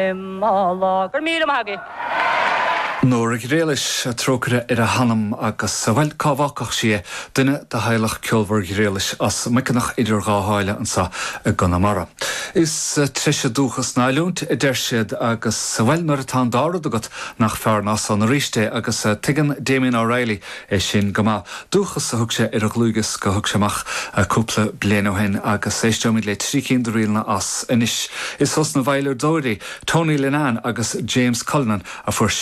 Go raibh míle maith agaibh. Nóra Ghriallais, trócaire ar a hanam agus, bhuel, cá bhfágfadh sí é, duine de theaghlach ceolmhar Ghriallais as Muiceanach idir dhá sháile anseo i gConamara. Is treise dúchas ná oiliúint, a deir siad, agus, bhuel, nuair atá an dá rud agat, nach fearr ná san arís é, agus tuigeann Damien O'Reilly é sin go maith. Dúchas a thug sé ar a dhlúthdhiosca a thug sé amach cúpla bliain ó shin agus éisteoimid le trí cinn de ríleanna as anois. Is ós na veidhleadóirí Tony Linnane agus James Cullinan a fuair sé.